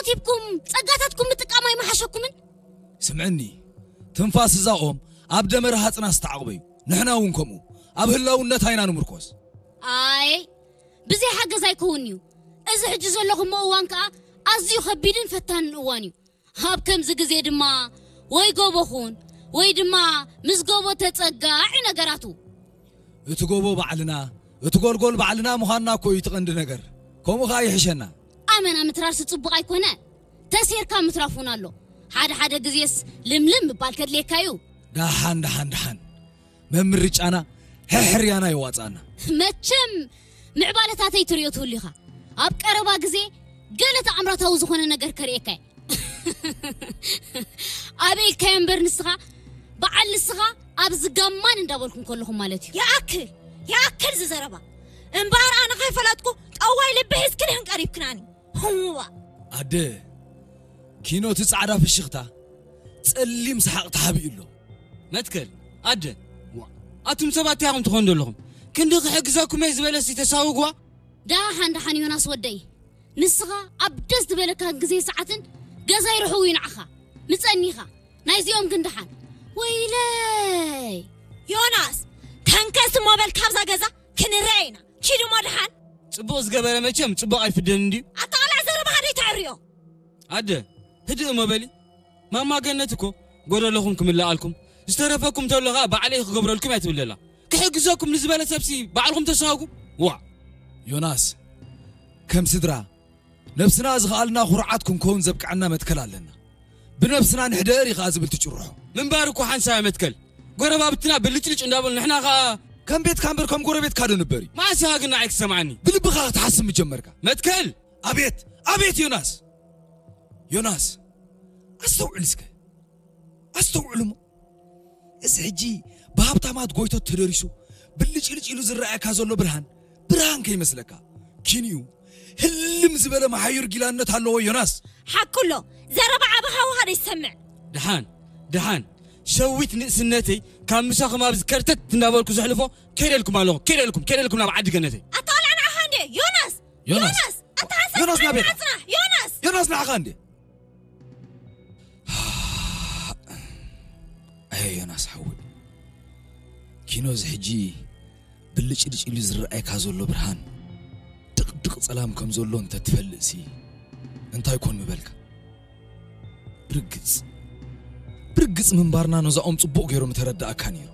ሂብኩም ጸጋታትኩም ምጥቃም ኣይመሓሸኩምን? ስምዕኒ፣ ትንፋስ እዛ ኦም ኣብ ደመ ረሃጽና ዝተዓቕበ እዩ። ንሕና እውን ከምኡ ኣብ ህላውነታ ኢና ንምርኮስ። ኣይ፣ ብዘይ ሓገዝ ኣይከውን'ዩ። እዚ ሕጂ ዘለኹሞ እዋን ከኣ ኣዝዩ ከቢድን ፈታንን እዋን እዩ። ኣብ ከምዚ ግዜ ድማ ወይ ጎቦ ኹን ወይ ድማ ምስ ጎቦ ተጸጋዕ እዩ ነገራቱ። እቲ ጎቦ ባዕልና፣ እቲ ጎልጎል ባዕልና ምዃንና እኮ እዩ እቲ ቀንዲ ነገር። ከምኡ ኸኣ ይሕሸና። ኣመና ምትራርሲ ጽቡቕ ኣይኮነ፣ ተሴርካ ምትራፍ እውን ኣሎ። ሓደ ሓደ ግዜስ ልምልም ምባል ከድልየካ እዩ። ደሓን ደሓን ደሓን፣ መምርጫና ሕሕርያና የዋጻና። መቸም ምዕባለታተይ ትሪኦ ትህሉ ኢኻ። ኣብ ቀረባ ግዜ ገለ ተኣምራታዊ ዝኾነ ነገር ከርእየካ እየ። ኣበይ ኢልካዮ እምበር ንስኻ፣ በዓል ንስኻ ኣብዚ ጋማን እንዳበልኩም ከለኹም ማለት እዩ። ይኣክል፣ ይኣክል ዝዘረባ። እምበኣር ኣነ ከይፈለጥኩ ጠዋይ ልቢ ሒዝክን ኢኽን ቀሪብክናኒ። ህዋ። ኣደ፣ ኪኖ እቲ ጻዕዳ ፍሽኽታ ጸሊም ሰሓቕ ተሓቢኡ ኣሎ። መትከል፣ ኣደ፣ ዋ፣ ኣቱም ሰባት እንታይ ኢኹም ትኾኑ ዘለኹም? ክንዲ ክሕግዘኩም እየ ዝበለሲ ተሳውግዋ? ደሓን ደሓን ዮናስ ወደይ፣ ንስኻ ኣብ ደስ ዝበለካ ግዜ ሰዓትን ገዛይ ርሑው እዩ ንዓኻ። ምጸኒኻ ናይዚኦም ግን ደሓን። ወይለይ! ዮናስ፣ ተንከስ እሞ በል ካብዛ ገዛ ክንረአ ኢና። ኪድ እሞ ደሓን። ጽቡቕ ዝገበረ መቸም ጽቡቕ ኣይፍደን እንድዩ። ኣታ ቃልዕ ዘረባኻ ደይተዕርዮ። ኣደ፣ ህድእ እሞ በሊ። ማማ ገነት እኮ ጎደለኹም ክምልኣልኩም፣ ዝተረፈኩም ተሎ ኸኣ ባዕለይ ክገብረልኩም እያ ትብል ዘላ። ክሕግዘኩም ንዝበለ ሰብሲ ባዕልኹም ተሳጉ። ዋዕ! ዮናስ፣ ከም ስድራ ነብስና ዝኸኣልና ኩርዓት ክንከውን ዘብቅዐና መትከል ኣለና። ብነብስና ንሕደር እዩ ኸኣ ዝብል ትጭርሖ። ምንባር እኮ ሓንሳብ እያ መትከል። ጎረባብትና ብልጭልጭ እንዳበሉ ንሕና ኸኣ ከም ቤትካ እምበር ከም ጎረቤትካ ዶ ንበር እዩ? መዓስ ኢኻ ግን ንዓይ ክትሰምዓኒ? ብልብኻ ክትሓስብ ምጀመርካ። መትከል! ኣቤት! ኣቤት ዮናስ! ዮናስ! ኣስተውዕል እስከ። ኣስተውዕል እሞ። እዚ ሕጂ ብሃብታማት ጎይቶት ተደሪሱ ብልጭልጭ ኢሉ ዝረኣየካ ዘሎ ብርሃን፣ ብርሃን ከይመስለካ። ኪንኡ ህልም ዝበለ መሓዩር ጊላነት ኣለዎ ዮናስ። ሓቁ ኣሎ። ዘረባ ዓቢ ሃዋሃ ደይሰምዕ። ደሓን፣ ደሓን። ሸዊት ንእስነተይ ካብ ምሳኹም ኣብዚ ከርተት እንዳበልኩ ዘሕልፎ ከይደልኩም ኣለኹ። ከይደልኩም፣ ከይደልኩም ናብ ዓዲ ገነተይ። ኣታ ቃልዕ ንዓኻ እንዴ ዮናስ! ዮናስ! ዮናስ! ኣታ ሓንሳብ ዮናስ ናበይ? ጽናሕ! ዮናስ! ዮናስ ንዓኻ እንዴ? ኣየ ዮናስ ሓወይ፣ ኪኖ እዚ ሕጂ ብልጭልጭ ኢሉ ዝረኣየካ ዘሎ ብርሃን ድቕድቕ ጸላም ከም ዘሎ እንተ ትፈልጥሲ እንታይ ኮን ምበልካ? ብርግጽ፣ ብርግጽ ምንባርና ነዛኦም ጽቡቕ ገይሩ ምተረዳእካ ነይሩ።